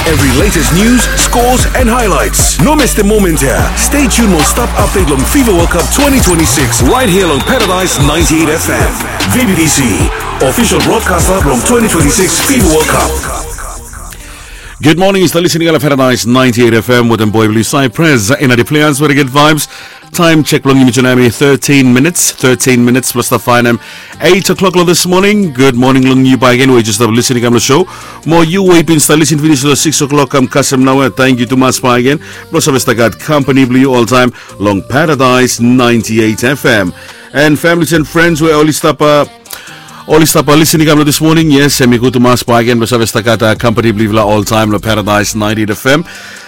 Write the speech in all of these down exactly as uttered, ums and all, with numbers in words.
Every latest news, scores and highlights. No mistem moment ia. Stay tuned mo stap update long FIFA World Cup twenty twenty-six right here long Paradise ninety-eight F M. V B T C, official broadcaster long twenty twenty-six FIFA World Cup. Good morning, yu stap listening long Paradise ninety-eight F M wetem boy blong yu Cypress. Ina the players very good vibes. Taem jek blong yumi tu nao hemi thirteen minutes, thirteen minutes blong stap faenem eight o'clock long this morning. Good morning long yu bakegen we yu jes stap listening kam long show. Mo yu we yu bin stap listening finis long six o'clock kam kasem naoia, tangkiu tumas bakegen blong save stap gat kampani blong yu oltaem long Paradise ninety-eight F M. And families and friends we oli stap, uh, oli stap, uh, listening kam long this morning, yes, hemi gud tumas bakegen blong save stap gat, uh, kampani blong yufala oltaem long Paradise ninety-eight F M.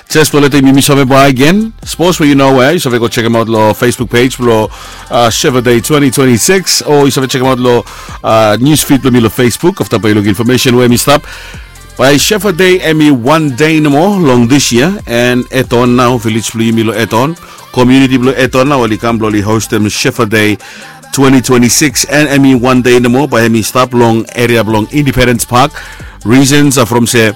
Jes blong letem yumi save bakegen, sapos we yu no we yu save go jekemaot long Facebook page blong, uh, Shefa Day twenty twenty-six, o yu save jekemaot long, uh, news feed blong mi long Facebook afta bae yu luk infomesen we hemi stap. Bae Shefa Day hemi wan dei nomo long this year, and Eton nao, vilej blong yumi long Eton, komuniti blong Eton nao oli kam blong oli hostem Shefa Day twenty twenty-six, and hemi wan dei nomo, bae hemi stap long eria blong Independence Park. Reasons are from se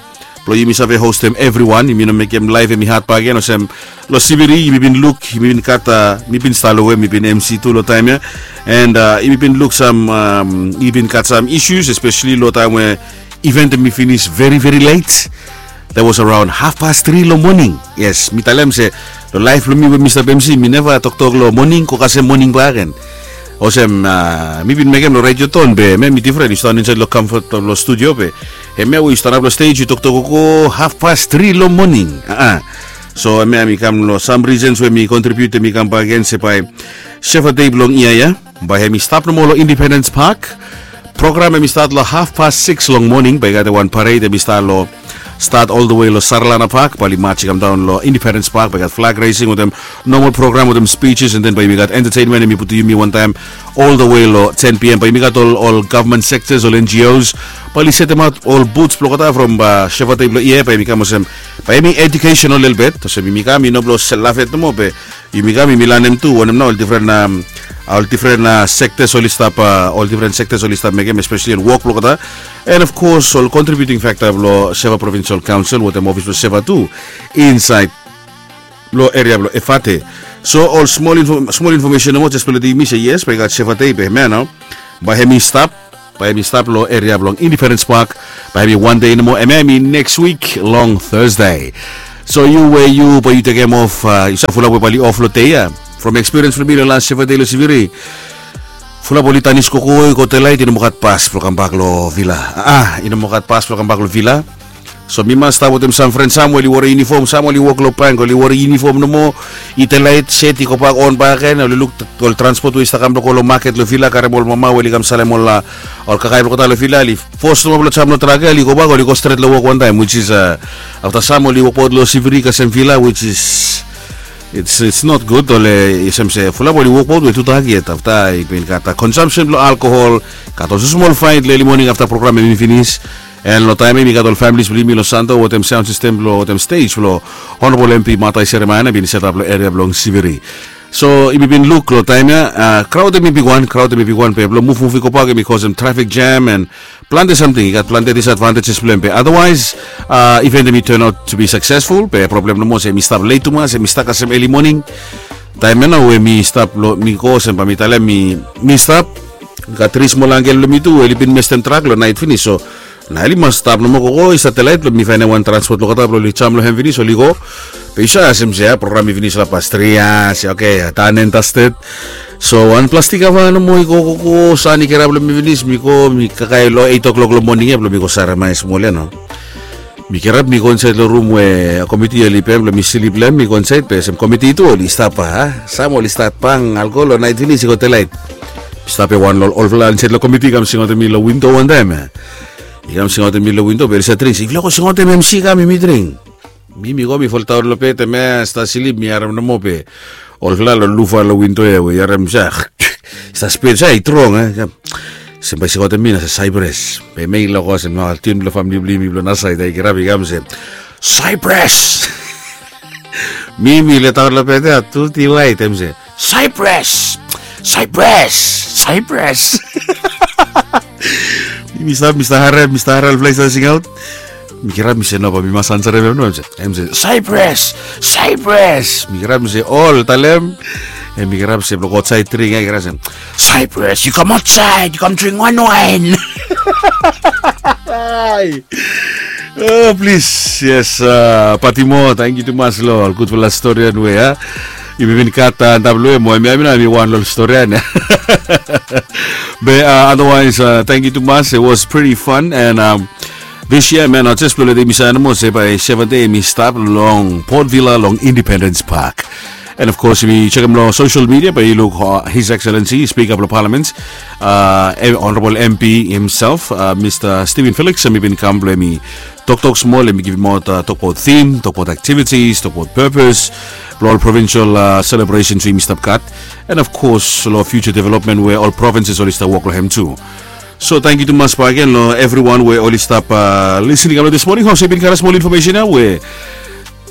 blong yumi save hostem evriwan, yumi no mekem laef hemi had bakegen olsem long Siviri yumi bin luk, yumi bin gat, uh, mi bin stap long we mi bin M C tu long taem ia, and, uh, yumi bin luk sam, um, yumi bin gat sam issues, especially long taem we event hemi finis very very late. That was around half past three long moning. Yes, mi talem se long laef blong mi we mi stap M C mi neva toktok long moning go kasem moning bakegen. Olsem, uh, mi bin mekem long Radioton be hemia mi difren, yu stanap insaed long comfort blong studio be hemia we yu stanap long stage yu toktok go half past three long moning. Uh-uh. So hemia mi kam long sam reasons we mi contribute, mi kam bakegen se bae Shefa Day blong yia ia bae hemi stap nomo long Independence Park. Program hemi stat long half past six long moning, bae i gat wan parade hemi stat long, stat oltawe long Sarlana Park, bae oli maj i kam daon long Independence Park, bae i gat flag raising wetem normal program wetem speeches, and then bae yumi gat entertainment hemi putum yumi wantaem oltawe long ten P M. Bae yumi gat ol, ol government sectors, ol N G Os, bae oli setemaot ol booths blong olgeta from, uh, Shefa Day blong yia ia, bae hemi kam olsem, bae hemi educational lelebet, olsem yumi kam i no blong sel lafet nomo be yumi kam yumi lanem tu wanem nao ol difren, um, ol difren, uh, sectors oli stap, uh, ol difren sectors oli stap mekem, especially ol wok blong olgeta. And of course ol contributing factor blong Shefa Provincial Council wetem ofis blong Shefa tu insaed long eria blong Efate. So ol smol info-, smol infomesen nomo jes blong letem yumi se yes, bae i gat Shefa Day be hemia nao bae hemi stap, bae hemi stap long eria blong Independence Park, bae hemi wan dei nomo, hemia hemi next week long Thursday. So yu we yu bae yu tekem of, uh, yu save fulap we bae oli of long dei ia. From experience blong mi long las Shefa Day long Siviri, fulap oli tanis gogo i go delaet, i no moa gat bas blong kambak long vila. Ah, i no moa gat bas blong kambak long vila. So mi mas stap wetem sam fren, sam we oli wore yunifom, sam oli wok long bank oli wore yunifom nomo, i delaet set i gobak on bakegen, oli luk ol transpot we i stap kam blong go long maket long vila karem ol mama we oli kam salem ol, uh, ol kakae blong olgeta long vila, oli fos nomo blong jam long trak ia, oli gobak, oli go stret long wok wantaem, which is, uh, afta sam oli wokbaot long Siviri kasem vila, which is, it's, it's not good, ole, olsem se fulap oli wokbaot we tudak yet, afta i bin gat, uh, consumption blong alcohol, gat olsem smol faet long eli moning afta program hemi finis. And long taem ia mi gat ol families blong yumi long Santo wetem sound system blong, wetem stage blong Honorable M P Matai Seremaia, na bin setap long eria blong Siviri. So yumi bin luk long taem ia, uh, kraod hemi bigwan, kraod hemi bigwan be blong muvmuv i gobak hemi kosem traffic jam and plante samting, i gat plante disadvantages blong hem be otherwise, uh, event hemi turn out to be successful, be problem nomo se hemi stap let tumas, hemi stap kasem eli moning. Taem ia nao we mi stap long, mi go olsem bae mi talem mi, mi stap, gat tri smol angkel blong mi tu we oli bin mestem trak long naet finis, so nao oli mas stap nomo gogo i stat delaet blong mi faenem wan transpot blong olgeta blong oli jam long hem finis oli go. Be yu save asem se ia program i finis long pas tri ia, se oke, done and dusted. So wan plastik kava nomo i go gogo, san i kirap long mi finis, mi go, mi kakae long eight o'clock long moning ia blong mi go saremae smol ia nao. Mi kirap mi go insaed long rum we komiti oli pem blong mi slip long hem, mi go insaed be olsem komiti tu oli stap, a, sam oli stat bang alkohol long naet finis i go delaet. Mi stap ia wan long olfala insaed long komiti i kam singaotem mi long windo wantaem ia. I kam singaotem mi long windo be oli save dring, se yufala go singaotem M C kam yumi dring. Mi, mi go mi foldaon long bed, hemia stat slip, mi harem nomo be olfala long lufa long windo ia we i harem se, stat spet se i strong, e. Olsem bae i singaotem mi nao se Cypress. Be hemia i loko olsem nao tiun blong famili blong yumi blong nasaed ia i kirap i kam se, Cypress! Mi, mi letaon long bed ia, tu ti waet, hem se, Cypress! Cypress! Cypress! Mi, mi stap, mi stap harem, mi stap harem olfala i stat singaot. Mi kirap mi se no, bae mi mas ansarem hem no. Hem se, Cyprus, Cyprus. Mi kirap mi se, ol talem. Hem mi kirap se blong go aotsaed dring ia, kirap se, Cyprus, you come outside, you come drink one wine. Ai. Oh, plis, yes, patimo, tangkiu tumas long ol gudfala storian we a yumi bin gat antap long hem, mo hemia mi nao mi wan long ol storian ia. Be otherwise, tangkiu tumas, it was pretty fun. And um, this year, man, jes blong letem yumi save nomo se bae Seventh Day hemi stap long Port Vila long Independence Park. And of course, yumi jekem long social media bae yu luk, uh, His Excellency Speaker blong Parliament, uh, Honorable M P himself, uh, Mister Stephen Felix, hemi bin kam blong hemi toktok smol, hemi givimaot, uh, tokbaot theme, tokbaot activities, tokbaot purpose blong ol provincial, uh, celebrations we yumi stap gat, and of course long future development we ol provinces oli stap wok long hem tu. So tangkiu tumas bakegen long evriwan we oli stap, uh, listening kam long this morning. Hom se yumi bin karem smol infomesen ia we,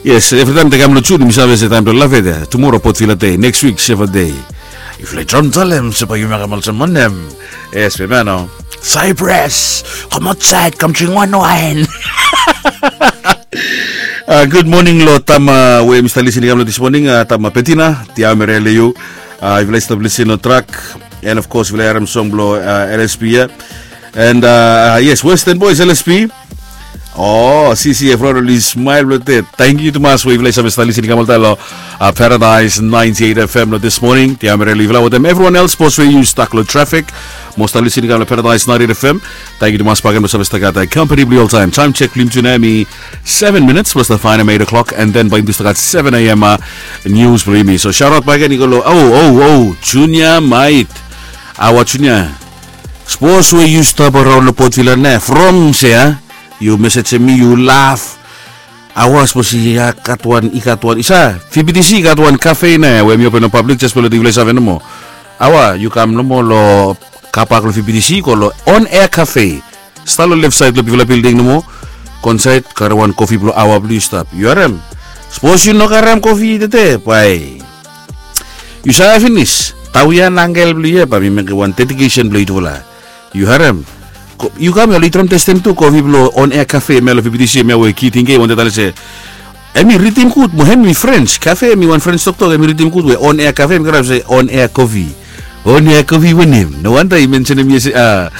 yes, evritaem yumi kam long Jun yumi save se taem blong Lafet ia, tumora Port Vila Day, next week Seventh Day. Yufala i trom talem se bae yu mekem olsem wanem? Yes, be man, oh, Cyprus, come outside, come drink one wine. Uh, gud moning long tama we hemi stap listening kam long this morning, uh, tama Betina, tiaomere long yu. Uh, yufala i stap listening long trak, and of course yufala i harem song blong, uh, L S P ia. And uh, yes, Western Boys, L S P. Oh, C C F Ronald i smile blong det. Tangkiu tumas we yufala i save stap listening kam oltaem long, uh, Paradise ninety-eight F M long this morning. Tiaomere long yufala wetem evriwan els, sapos we yu stak long trafik mo stap listening kam long Paradise ninety-eight F M. Tangkiu tumas bakegen blong save stap gat, uh, kampani blong yu oltaem. Taem jek blong yumi tu nao hemi seven minutes blong stap faenem eight o'clock, and then bae yumi tu stap gat seven A M, uh, nius blong yumi. So shaot aot bakegen i go long, oh, oh, oh, Junior Mait. Awa Junior. Sapos we yu stap araon long Port Vila nao, from se a yu mesejem mi, yu laf. Awa, sapos i gat wan, i gat wan, i sa, V B T C i gat wan kafe nao we hemi open long pablik, jes blong letem yufala i save nomo. Awa, yu kam nomo long car park long V B T C, go long On Air Cafe. Stap long lef saed long bigfala bilding nomo. Go insaed, karem wan kofi blong Awa blong yu stap. Yu harem? Sapos yu no karem kofi tede, bae yu save finis. Tawe ia na angel blong yu ia, bae mi mekem wan dedikesen blong yutufala. Yu harem? Yu kam ia long Itrom Testem tu, kofi blong On Air Cafe hemia long V B T C hemia we Kitingke i wantem talem se hemi ritim gud, mo hemi French. Kafe hemi wan French toktok, hemi ritim gud we On Air Cafe, hemi karem se On Air Coffee. On Air Coffee wanem? No wanda i mensenem ia se, a,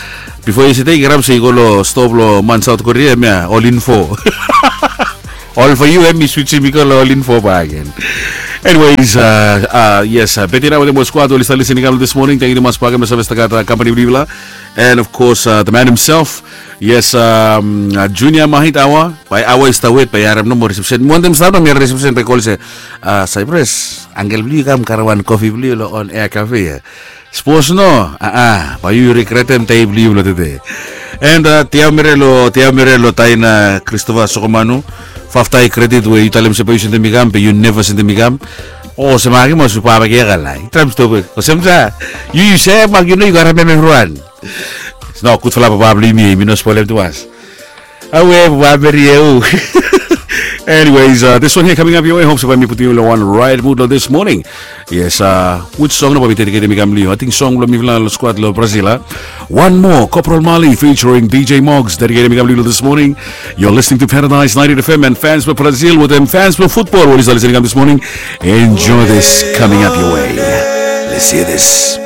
bifo yestede i karem se i go long stoa blong man South Korea hemia, All in Four. All for you, hemi switsim i go long All in Four bakegen. Anyways, uh, uh, yes, uh, Betina wetem ol squad oli stap listening kam long this morning. Tangkiu tumas bakegen blong save stap gat, uh, kampani blong yufala. And of course, uh, the man himself, yes, um, uh, Junior Mait, Awa. Bae Awa i stap wet, bae i harem nomo reception. Mi wantem stap nao mi harem reception bae i kol se, uh, Cyprus, angel blong yu i kam karem wan kofi blong yu long On Air Cafe ia. Sapos no, a, a, bae yu regretem dei blong yu blong tede. And, uh, tiaomere long, tiaomere long Taina Christopher Sokomanu. Fafta i kredit we yu talem se bae yu sendem mi kam, be yu neva sendem mi kam. O, se makim o su papa ke ia kalai. Traem stop. Olsem sa, yu, yu se makim, yu no, yu karem hem evriwan. No, gudfala papa blong yumi, yumi no spolem tumas. Awe, papa Meri ia. Anyways, uh, this one here coming up your way. Hope se bae mi putum yu long wan right mood long this morning. Yes, uh, which song nao bae mi dediketem i kam long yu? Ating song blong mifala long squad long Brazil, a? One More, Corporal Marley featuring D J Moggs, dediketem i kam long yu long this morning. You're listening to Paradise ninety F M, and fans blong Brazil wetem fans blong futbol we oli stap listening kam this morning, enjoy this coming up your way. Let's hear this.